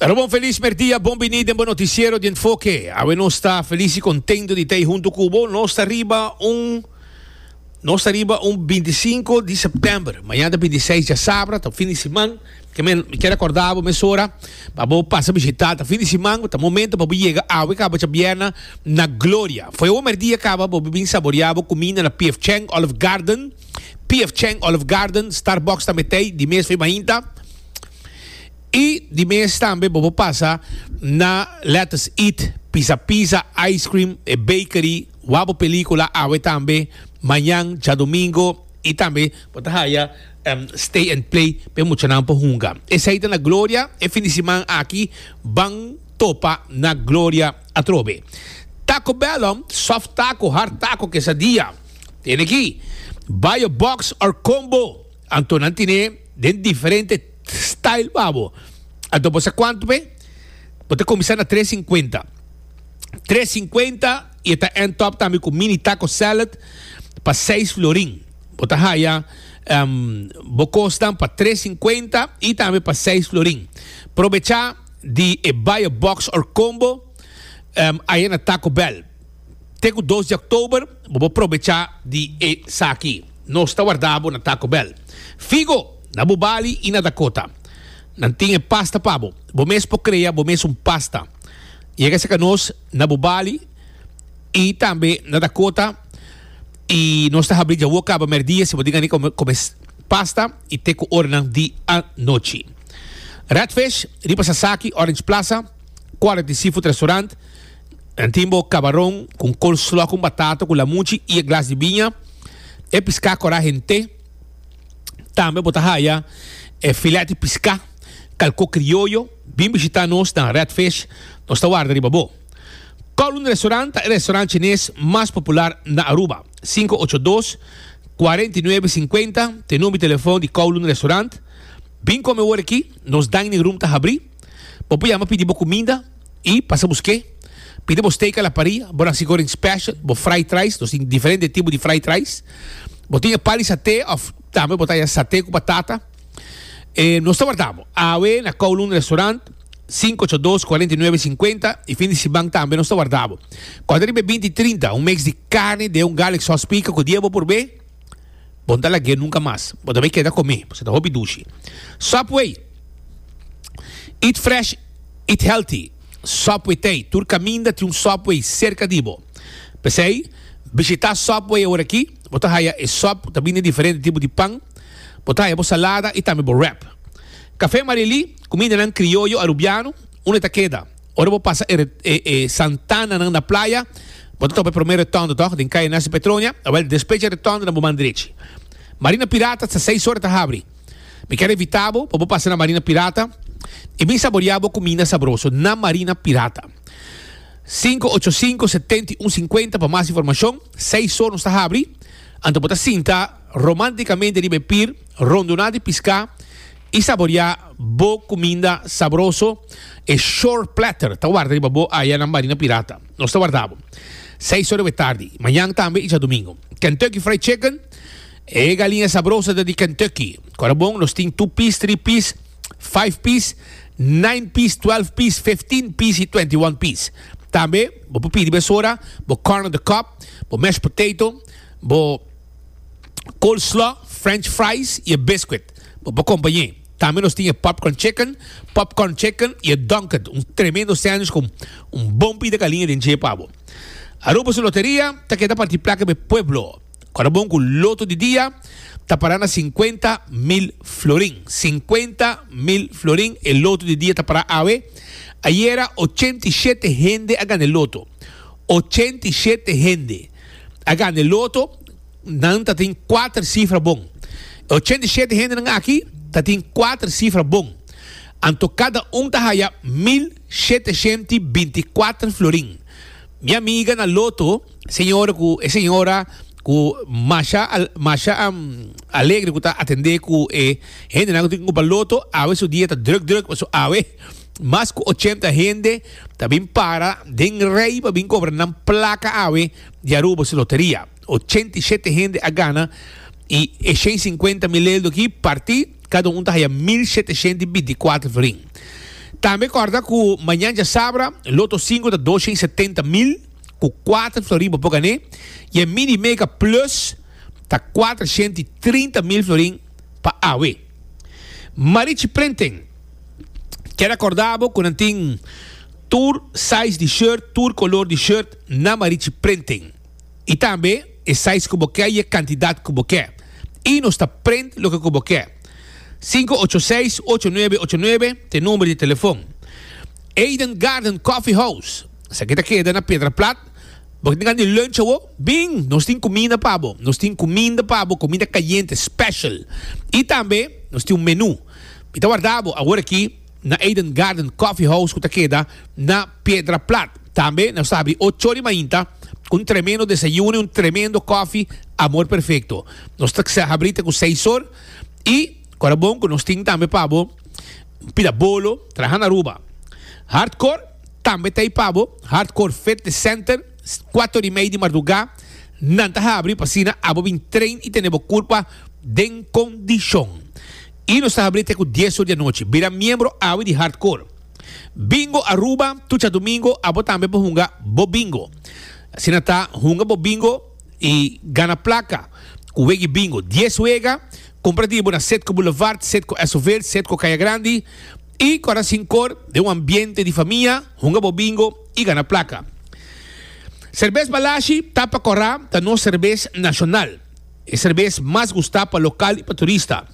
Pero bon felis merdia, bon bini den bo noticiero di Enfoke. Awe nos ta felis y contento di ta hunto cu bo. Nos ta riba un nos ta riba un 25 di september. Mañana ta 26 djasabra, ta fin di siman. Ke men mi kier acorda bo mesora pa bo pasa bishita. Ta fin di siman, ta momento pa bo yega awe caba djabièrnè na Gloria. Fo'i awe merdia caba bo bin saborea bo cuminda na PF Chang Olive Garden. PF Chang Olive Garden, Starbucks tambe t'ei, di mes fo'i mainta. I di mes tambe bo por pasa na Let Us Eat, Pizza Pizza, Ice Cream, e bakery, wak bo pelicula awe tambe, mañan, djadomingo, i tambe bo ta haya Stay and Play pa e muchanan por hunga. Esei ta na Gloria, e fin di siman aki ban topa na Gloria atrobe. Taco Bell, soft taco, hard taco, quesadilla, tene aki, buy a box or combo, anto nan tine den diferente. Style pa bo. Anto bo sa cuanto pe? Bo ta cuminsa na tres cincuenta. Tres cincuenta y e ta end top tambe cu mini taco salad pa seis florin. Bo ta haya bo cosnan pa tres cincuenta y tambe pa seis florin. Probecha di e buy a box or combo aya na Taco Bell. Te ku dos di òktober bo por probechá di esaki. Nos ta warda bo na Taco Bell. Figo, na Bubali i na Dakota. Nan tin e pasta pa bo. Bo mes por krea bo mes un pasta. Yega serka nos na Bubali i tambe na Dakota i nos ta habri djawo kaba mèrdia si bo tin gana di kome pasta i te ku oranan di anochi. Redfish riba Sasaki, Orange Plaza, Quality Seafood Restaurant. Nan tin bo kabaron ku un coleslaw ku un batata ku lamunchi i e glas di biña. E piská kòrá hent'é. Tambe bo ta haya e filet di piská, kalkó krioyo. Bin bishitá nos na Red Fish. Nos ta warda riba bo. Kowloon Restaurant ta e restaurant chines mas popular na Aruba. 582 49 50 ta e number di telefon di Kowloon Restaurant. Bin kome wor aki. Nos dining room ta habrí. Bo por yama pidi bo kuminda. I pasa busk'é. Pidi bo steak a la parilla, bo nasi goreng special, bo fried rice, nos tin diferente tipo di fried rice. Bo tin e pali saté of tambe bo ta haya saté ku batata. E nos ta warda bo. Awe na Kowloon Restaurant, 582 49 50 i fin di siman tambe nos ta warda bo. Kòrda riba e 20 i 30, un mix di karni den un garlic sauce pika ku dia bo por be, bo no ta lag'é nunka mas. Bo ta bay keda kom'é, pasobra ta hopi dushi. Subway, Eat fresh. Eat healthy, Subway t'ei. Tur kaminda tin un Subway serka di bo. P'esei, bishitá Subway aworakí. Bo ta haya e sub ku ta bini diferente tipo di pan. Bo ta haya bo salada i tambe bo wrap. Café Marilí, kumindanan krioyo arubiano, unda ta keda? Ora bo pasa e e santananan na playa, bo ta topa e promé rotonda tòg, den Kaya Nancy Petronia. Awèl, despues dje rotonda na bo man drechi. Marina Pirata ta seis ora ta habri. Mi kier invita bo pa bo pasa na Marina Pirata y bin saborea bo cuminda sabroso na Marina Pirata. 585 71 50 pa mas informacion. Seis or nos ta habri. Anto bo ta sinta romanticamente riba e pier, rondona di pisca y saborea bo cuminda sabroso. E shore platter ta warda riba bo aya na Marina Pirata. Nos ta warda bo. Seis or riba e tardi. Mañan tambe y djadomingo. Kentucky Fried Chicken. E galiña sabroso ta di Kentucky. Kora bon, nos tin two piece, three piece, five piece, nine piece, twelve piece, fifteen piece y twenty-one piece. Tambe bo por pidi mesora bo corn on the cob, bo mashed potato, bo coleslaw, french fries y e biscuit. Bo por compañ'é. Tambe nos tin e popcorn chicken, popcorn chicken y e Dunkin', un tremendo sandwich cu un bon pida galiña den dje pa bo. Aruba su loteria ta keda parti placa pa e pueblo. Kòrda bon ku loto di dia ta pará na 50,000 florin. 50,000 florin e loto di dia ta pará awe. Ayera 87 hende a gana e loto. 87 hende a gana e loto. Nan ta tin kuater sifra bon. E 87 hendenan aki ta tin kuater sifra bon. Anto kada un ta haya 1724 florin. Mi amiga na loto. Señora cu e señora cu masha masha alegre cu ta atende cu e hendenan cu tin cumpra loto awe su dia ta druk druk pasobra awe mas cu ochenta hende ta bin para den rij pa bin cobra nan placa awe di Aruba su loteria. 87 hende a gana y e 150 mil eldo aki parti cada un ta haya 1724 florin. Tambe kòrda ku mañan djasabra Loto sinku ta 270 mil ku kuater florin bo por gané i e Mini Mega Plus ta 430 mil florin pa awe. Marichi Printing kier akorda bo ku nan tin tur size di shirt, tur kolor di shirt na Marichi Printing. I tambe e size ku bo ke i e kantidat ku bo ke. I nos ta print loke ku bo ke. 586 8989 ta e number di telefon. Eden Garden Coffee House, esaki ta keda na Piedra Plat. Bo tin gana di lunch awo? Bin! Nos tin kuminda pa bo. Nos tin kuminda pa bo, kuminda kayente, special. I tambe nos tin un menu. Mi ta warda bo awor aki na Eden Garden Coffee House ku ta keda na Piedra Plat. Tambe nos ta habri ocho di mainta ku un tremendo desayuno i un tremendo kofi Amor Perfecto. Nos ta habri te ku seis or i kora bon ku nos tin tambe pa bo un pida bolo traha na Aruba. Hardcore tambe ta ei pa bo, Hardcore Fitness Center, kuater i mei di mardugá nan ta habri pa asina abo bin train i tene bo kurpa den kondishon. I nos ta habri te ku dies or di anochi. Bira miembro awe di Hardcore. Bingo Aruba, tur djadumingo abo tambe por hunga bo bingo. Asina ta, hunga bo bingo i gana plaka ku wega i bingo. Dies wega, kumpra di bo na Setco Boulevard, Setco Esoveld, Setco Kaya Grandi i kora sinkor den un ambiente di famia, hunga bo bingo i gana plaka. Serbes Balashi Tapa Kòrá ta nos serbes nashonal. E serbes mas gustá pa lokal i pa turista.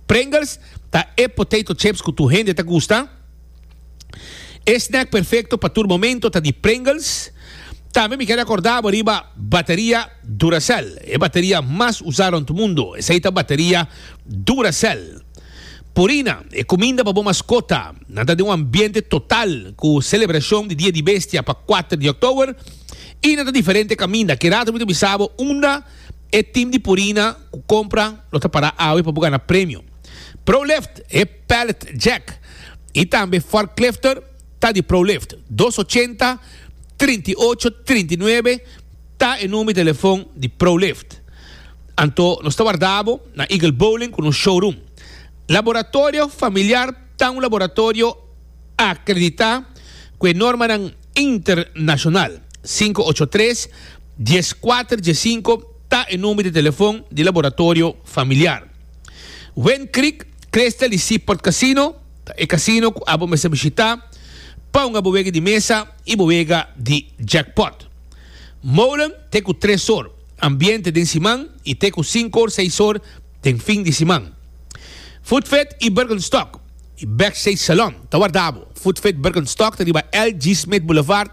Pringles ta e potato chips ku tur hende ta gusta. E snack perfecto pa tur momento ta di Pringles. Tambe mi ker acorda bo riba bateria Duracell, e bateria mas usa rond mundo. Esey ta bateria Duracell. Purina, e cuminda pa bo mascota. Nan ta den un ambiente total cu celebracion di Dia di Bestia pa kuater di october y nan ta diferente caminda. Ki rato mi ta bisa bo unda e team di Purina cu compra lo ta para awe pa bo gana premio. Prolift, e pallet jack y tambe forklifter ta di Prolift. Dos ochenta, 38, 39 ta e number di telefon di Prolift. Anto nos ta warda bo na Eagle Bowling cu nos showroom. Laboratorio Familiar ta un laboratorio acredita cu e normanan internacional. 583 14 15 ta e number di telefon di Laboratorio Familiar. Wind Creek, Crystal y Seaport Casino ta e casino cu abo mester bishita pa hunga bo wega di mesa y bo wega di jackpot. Molen te cu tres or, ambiente den siman y te cu cinco or, seis or den fin di siman. Footfit y Birkenstock y Backstage Salon ta warda bo. Footfit Birkenstock ta riba LG Smith Boulevard.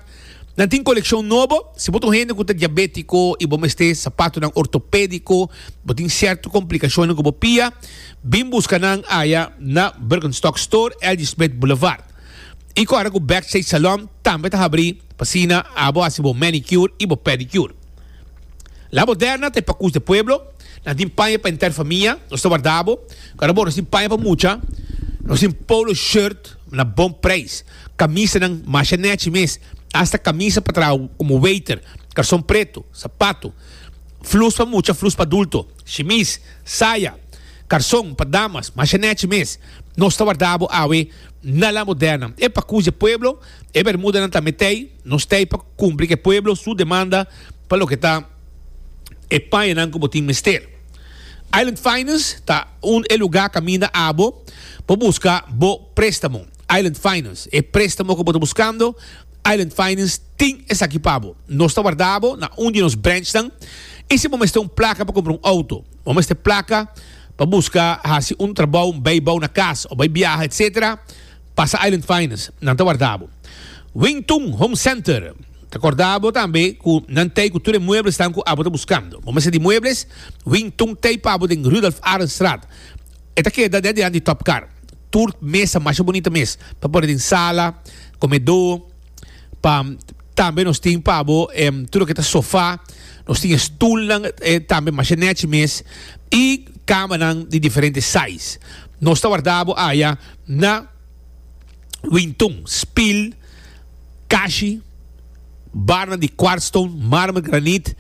Nan tin kolekshon nobo. Si bo ta un hende ku ta diabétiko i bo mester sapatonan ortopédiko, bo tin sierto komplikashonnan ku bo pia, bin buska nan aya na Birkenstock Store, LG Smith Boulevard. I kòrda ku Backstage Salon tambe ta habrí pa asina abo hasi bo manicure i bo pedicure. La Moderna ta e pakus de pueblo. Nan tin paña pa henter famia. Nos ta warda bo. Kòrda bo, nos tin paña pa mucha. Nos tin polo shirt na bon preis. Kamisanan masha nechi mes, asta kamisa pa traha komo waiter, karson pretu, sapato, flus pa mucha, flus pa adulto, shimis, saya, karson pa damas, masha nechi mes. Nos ta warda bo awe na La Moderna. E pakus di e pueblo, e bermudanan tambe t'ei. Nos t'ei pa kumpli ku e pueblo su demanda pa loke ta e pañanan ku bo tin mester. Island Finance ta un e lugá kaminda abo por buska bo préstamo. Island Finance, e préstamo ku bo ta buskando, Island Finance tin esaki pa bo. Nos ta warda bo na un di nos branchnan i si bo mester un plaka pa kumpra un outo, bo mester plaka pa buska hasi un trabou, un bijbou na kas o bai biaha etc. Pasa Island Finance, nan ta warda bo. Wingtung Home Center ta korda bo tambe ku nan tei ku tur e mueblesnan ku abo ta buskando. Bo mester di muebles? Wingtung tei pa bo den Rudolf Arendstraat. E ta keda den dilanti di Top Car. Tur mesa masha bunita mes pa pone den sala, komedó, pa tambe nos tin pa bo tur loke ta sofa, nos tin e stulnan tambe masha nechi mes i kamanan di diferente size. Nos ta warda bo aya na Wintun, spil, kashi, barnan di quartzstone, marmer, granit,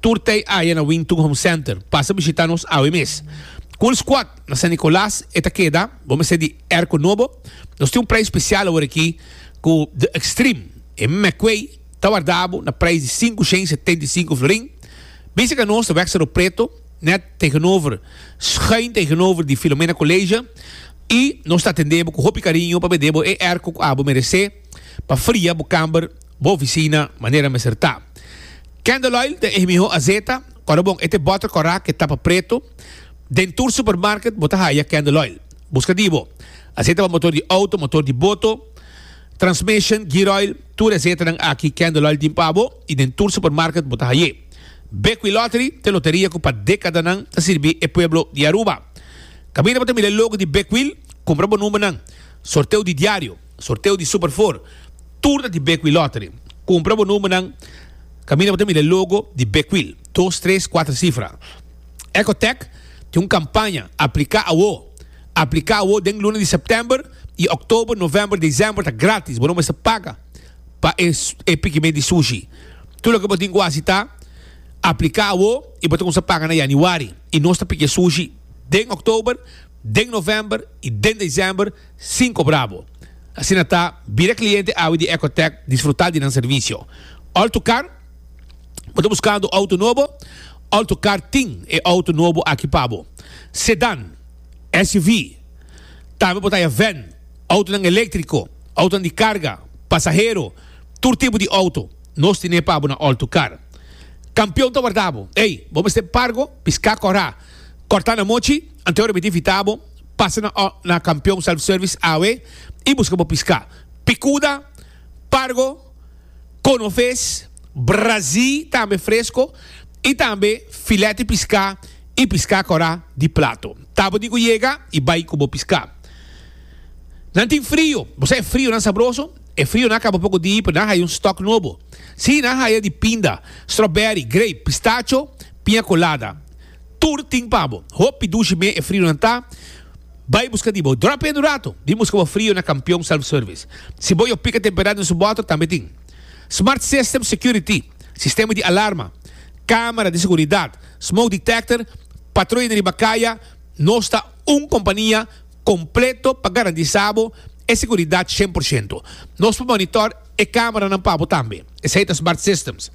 tur ta aya na Wintun Home Center. Pasa bishita nos awe mes. Cool Squad na San Nicolas e ta keda, bo mester di airco nobo. Nos tin un prijs special awor aki cu The Extreme, e McQuay ta warda bo na prijs di 575 florin. Bisa cu nos ta wek Cerro Preto, net tegenover, schuin tegenover di Filomena College y nos ta atende bo cu hopi cariño pa bende bo e airco cu abo merece pa fria bo camber, bo oficina manera mester ta. Candle oil ta e miho azeta. Ora bon e te boter kora ke tapa preto, den tur supermarket bo ta haya candle oil. Buska di bo. Azeta pa motor di auto, motor di boto, transmission, gear oil, tur e azetanan aki candle oil tin pa bo y den tur supermarket bo ta haye. Bekwee Lottery ta e loteria ku pa dekadanan ta sirbi e pueblo di Aruba. Kaminda bo ta mira e logo di Bekwee, kumpra bo numbernan. Sorteo di diario, sorteo di Super Four, tur ta di Bekwee Lottery. Kumpra bo numbernan. Kaminda bo ta mira e logo di Bekwil, dos, tres, kuater sifra. Ecotech tin un kampaña, Apliká awo! Apliká awo den luna di sèptèmber i òktober, novèmber, desèmber ta grátis, bo no mester paga pa e e pikimen di sushi. Tur loke bo tin ku hasi ta apliká awo i bo ta kuminsá paga na yanüari i nos ta piki e sushi den òktober, den novèmber i den desèmber sin kobra bo. Asina ta, bira kliente awe di Ecotech, disfrutá di nan servisio. Autocar, Bo ta buskando outo nobo? Autocar tin e outo nobo aki pa bo. Sedan, SUV, tambe bo ta haya van, outonan eléktriko, outonan di karga, pasahero, tur tipo di outo nos tine pa bo na Autocar. Kampion ta warda bo. Ey, bo mester pargo, piská kòrá, kòrtá na mochi, anto e ora mi ta invitá bo pasa na na Kampion Self Service awe i buska bo piská. Pikuda, pargo, konofes, brazí tambe fresko i tambe filet di piská i piská kòrá di plato. Ta bo tin ku yega i bai ku bo piská. Nan tin frio. Bo sa e frionan sabroso? E frionan a kaba poko di pero nan haya un stòk nobo. Sí, nan haya di pinda, strawberry, grape, pistacho, piña colada. Tur tin pa bo. Hopi dushi me e frionan ta. Bai buska di bo. Drop in un rato. Bin buska bo frio na Kampion Self Service. Si bo yo pika temperá den su bòter tambe tin. Smart System Security, sistema di alarma, kamera di seguridat, smoke detector, patruya riba kaya, nos ta un kompania kompleto pa garantisa bo e seguridat 100%. Nos por monitor e kameranan pa bo tambe. Esei ta Smart Systems.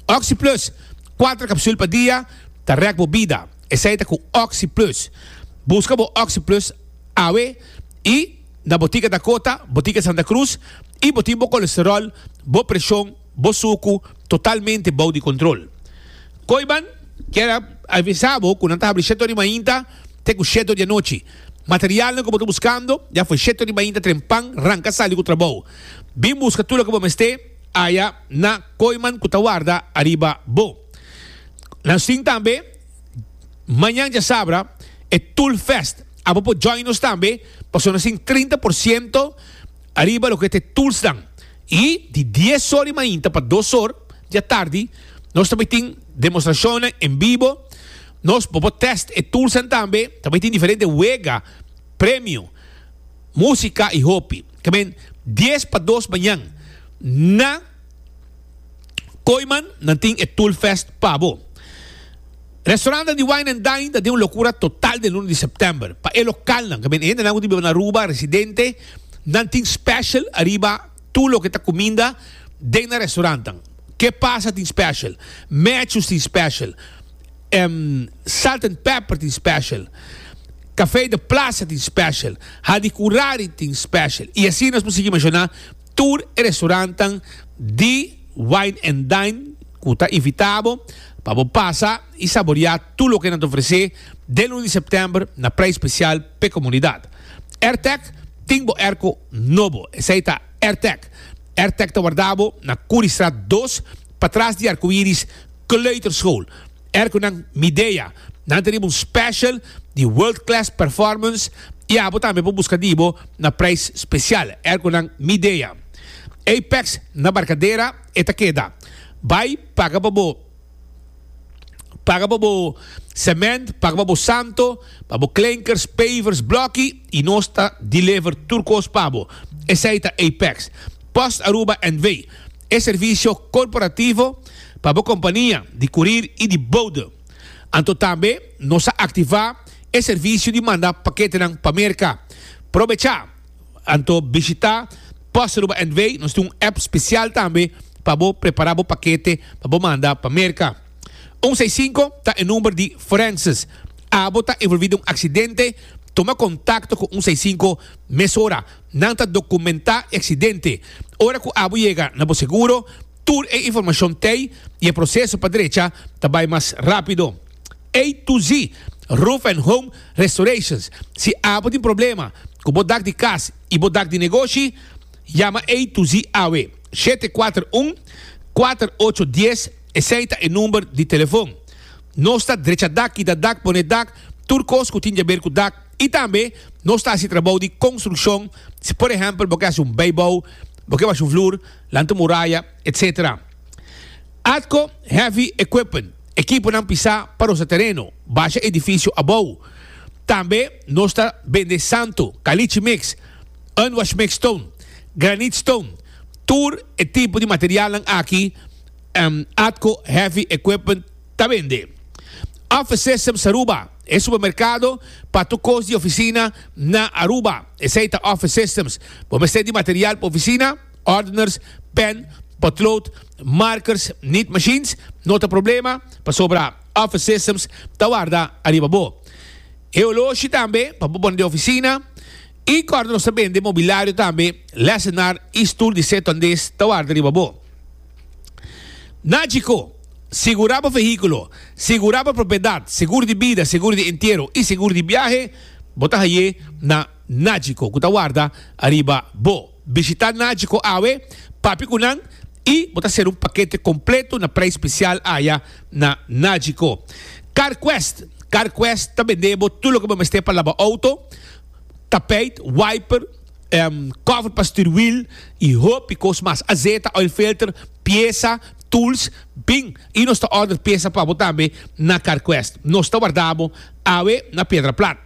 Oxi Plus, kuater kapsul pa dia ta rèk bo bida. Esei ta ku Oxi Plus. Buska bo Oxi Plus awe i na Botica Dakota, Botica Santa Cruz i bo tin bo kolesterol, bo preshon, bo suku totalmente bou di kontrol. Koiban kier a avisa bo ku nan ta habri shete ora di mainta te ku shete ora di anochi. Materialnan ku bo ta buskando ya for shete ora di mainta trempan ranka sali ku trabou. Bin buska tur loke bo mester aya na Koiman ku ta warda ariba bo. Nos tin tambe mañan djasabra e Tool Fest. Abo por join nos tambe pasobra nos tin 30% ariba loke ta e toolsnan. I di dies or di mainta pa dos or di atardi nos ta bai tin demostrashonnan en bibo. Nos bo por test e toolsnan tambe. Ta bai tin diferente wega, premio, musika i hopi. Ke men dies pa dos mañan na. Kooiman nan tin e Tool Fest pa bo. Restaurantnan di Wine and Dine ta den un lokura total den luna di september. Pa e lokalnan, ke men e hendenan ku ta biba na Aruba, residente, nan tin special ariba tur loke ta kuminda den nan restaurantnan. Ke Pasa tin special, Matthews tin special, Salt and Pepper tin special, Café de Plaza tin special, Hadicurari tin special y asina nos por sigui menciona. Tur e restaurantan di Wine and Dine ku ta invitá bo pa bo pasa i saboriá tur loke nan ta ofresé den luna di sèptèmber na preis spesial p'e komunidat. Airtec tin bo airco nobo. Esei ta Airtec. Airtec ta warda bo na Curiestraat dos, patras di Arcoiris Kleuterschool. Airconan Midea. Nan ta riba un special di world class performance y abo tambe por busca di bo na prijs special. Airconan Midea. Apex na Barcadera e ta keda. Bay paga pa bo paga pa bo cement, paga pa bo santo, pa bo klinkers, pavers, bloki y nos ta deliver tur cos pa bo. Esey ta Apex. Post Aruba NV. E servicio corporativo pa bo compania di curir y di bode. Anto tambe nos a activa. e servisio di manda paketenan pa Merka. Probechá! Anto bishitá Post Aruba NV. Nos tin un app spesial tambe pa bo prepará bo pakete pa bo manda pa Merka. Un seis sinku ta e number di Forenses. Abo ta envolví den un aksidente? Tuma kontakto ku un seis sinku mesora. Nan ta dokumentá e aksidente. Ora ku abo yega na bo seguro, tur e informashon t'ei i e proseso pa drecha ta bai mas rápido. A to Z Roof and Home Restorations Si abo tin problema ku bo dak di kas i bo dak di negoshi, yama A to Z awe. 741 4810 Esei ta e number di telefon. Nos ta drecha dak, kita dak, pone dak, tur kos ku tin djaber ku dak. I tambe nos ta hasi trabou di konstrukshon, si por ehèmpel bo ke hasi un beibou, bo ke basha un vloer, lanta un muraya, etc. Atco Heavy Equipment, ekiponan pisá pa rosa tereno, basha edifisio abou. Tambe nos ta bende santo, caliche mix, unwash mix stone, granite stone, tur e tipo di materialnan aki Atco Heavy Equipment ta bende. Office Systems Aruba, e supermercado pa tur cos di oficina na Aruba. Esey ta Office Systems. Bo mester di material pa oficina, ordeners, pen, potlood, markers, niet machines, no ta problema pasobra Office Systems ta warda ariba bo. E oloshi tambe pa bo pone den oficina y corda nos ta bende mobilario tambe, lessenaar y stoel di seto andes ta warda riba bo. Nagico, Sigurá bo vehíkulo, sigurá bo propiedat, seguro di bida, seguro di entiero i seguro di biahe, bo ta hañ'é na Nagico ku ta warda ariba bo. Bishitá Nagico awe, papia ku nan i bo ta ser un pakete kompleto na preis spesial aya na Nagico. CarQuest, CarQuest ta bende bo tur loke bo mester pa laba outo, tapijt, wiper, cover pa stuurwiel y hopi cos mas. Azeta, oil filter, pieza, tools, bin y nos ta order pieza pa bo tambe na CarQuest. Nos ta warda bo awe na Piedra Plat.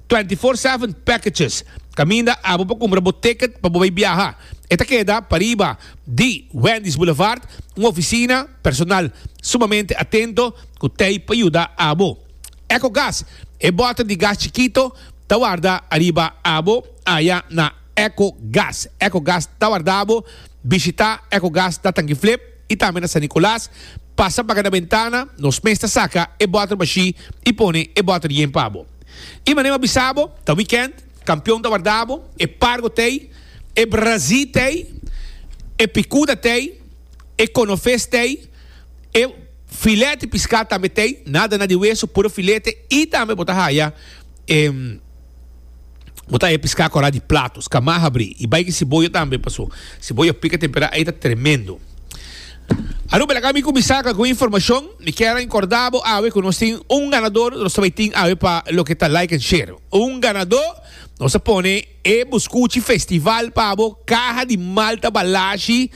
24/7 packages, caminda abo pa cumpra bo ticket pa bo bay biaha. E ta keda pariba di Wendy's Boulevard, un oficina personal sumamente atento cu t'ey pa yuda abo. Ecogas, e boter di gas chikito ta warda ariba abo aya na Ecogas. Ecogas ta warda bo. Bishita Ecogas na Tanguiflip y tambe na San Nicolas. Pasa paga na bentana, nos mes ta saca e boter bashi y pone e boter yen pa bo. Y manera mi a bisa bo, ta weekend, campeon ta warda bo, e pargo t'ey, e brazi t'ey, e picuda t'ey, e conofes t'ey, e filete pisca tambe t'ey, nada na di weso, puro filete y tambe bo ta haya e bo ta e piská kòrá di plato, skamá habrí i bai ki siboyo tambe paso siboyo pika temperá ei ta tremendo. Aruba laga mi kuminsá ku algun informashon. Mi kier a inkordá bo awe ku nos tin un ganador, nos ta bai tin awe pa loke ta like and share. Un ganadó nos a pone e buskuchi festival pa bo, kaha di malta balashi,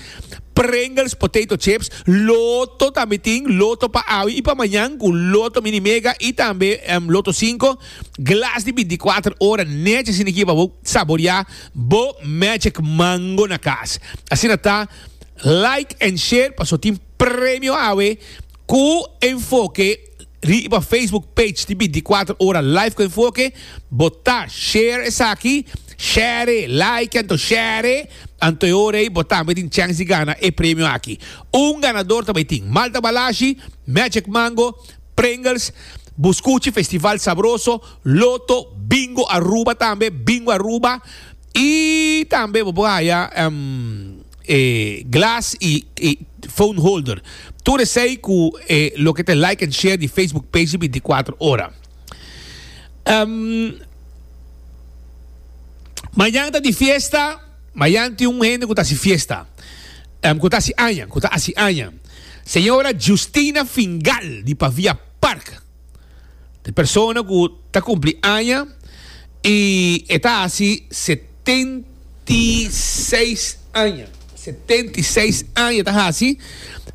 Pringles potato chips, loto tambe tin, loto pa awe y pa mañan cu loto mini mega y tambe loto cinco, glas di 24 ora nechi asina aki pa bo saborea bo magic mango na cas. Asina ta, like and share paso tin premio awe cu enfoke. Riba Facebook page di 24 ora live ku Enfoke, bo ta share esaki, share, like anto share, anto e ora ei bo tambe tin chance di gana e premio aki. Un ganador ta bai tin Malta Balashi, Magic Mango, Pringles, Buscuchi Festival Sabroso, Lotto, Bingo Aruba tambe, Bingo Aruba, y tambe bo por haya e glas y e phone holder. Tur esey cu e loke ta like and share di Facebook page di 24 ora. Um, mañan ta di fiesta, mañan tin un hende cu ta haci fiesta. Um, cu ta haci aña, cu ta haci aña. Señora Justina Fingal di Pavia Park. E persona ku ta kumpli aña i e ta hasi 76 aña. 76 aña ta hasi.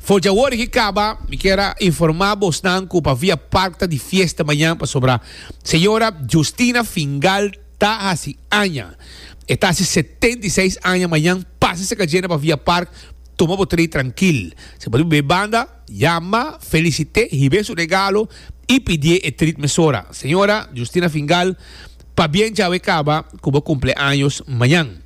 For djawor aki kaba mi kier a informa bosnan ku pa Via Park ta di fiesta mañan pasobra señora Justina Fingal ta hasi aña. E ta hasi 76 aña mañan. Pasa seka djena pa Via Park tuma bo trei trankil. Si bo tin bebe banda. Yama, felicit'é, hib'é su regalo. i pidié e trit mesora. Señora Justina Fingal, pabien djawe kaba ku bo kumpleaños mañan.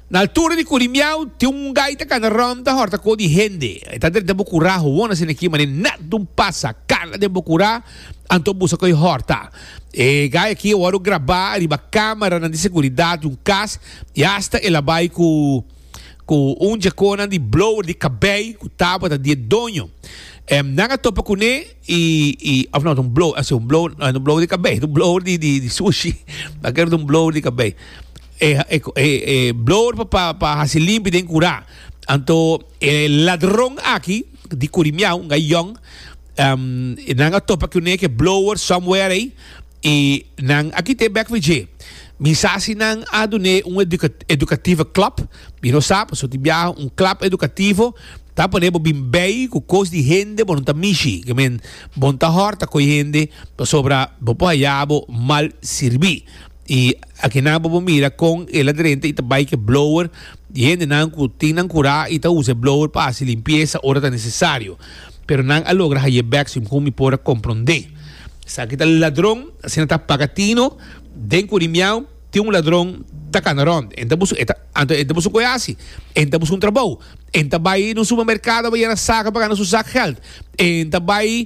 Na altura di Curimiao tin un gai ta kana rònt ta hòrta ko di hende. E ta drenta bo kurá howon asina aki manera nèt dun pasa kana den bo kurá anto busa ku e hòrta. E gai aki a wòrdu grabá riba kámaranan di seguridat di un kas i asta el a bai ku ku un djekonan di blower di kabei ku tabata di e doño. Nan a topa kuné. I i of no ta un blow asi un blow no un blow di kabei ta un blower di di di sushi a kere ta un blower di kabei e e e e blower pa pa pa hasi limpi den kura anto e ladron aki di Kurimiao un gai yong nan a topa kuné ke blower somewhere ei I nan a kit'é bek for dje. Mi sa si nan a dun'é un educative klap. Mi no sa, pasobra tin biaha un klap edukativo ta pone bo bin bei ku kos di hende bo no ta mishi. Ke men, bo no ta hòrta ku e hende pasobra bo por haya bo mal sirbí. I akinan bo por mira kon el a drenta i ta bai ku e blower di hendenan ku tin nan kurá i ta usa e blower pa hasi limpiesa ora ta nesesario. Pero nan a logra hay'é bek segun mi por a komprondé. Esaki ta ladron, asina ta paga tino, den Curimiao tin un ladron ta cana rond, en ta busu, e ta, anto en ta busu cu e haci, en ta busu un trabou, en ta bay na un supermercado pa yena saca pa gana su sac geld, en ta bay.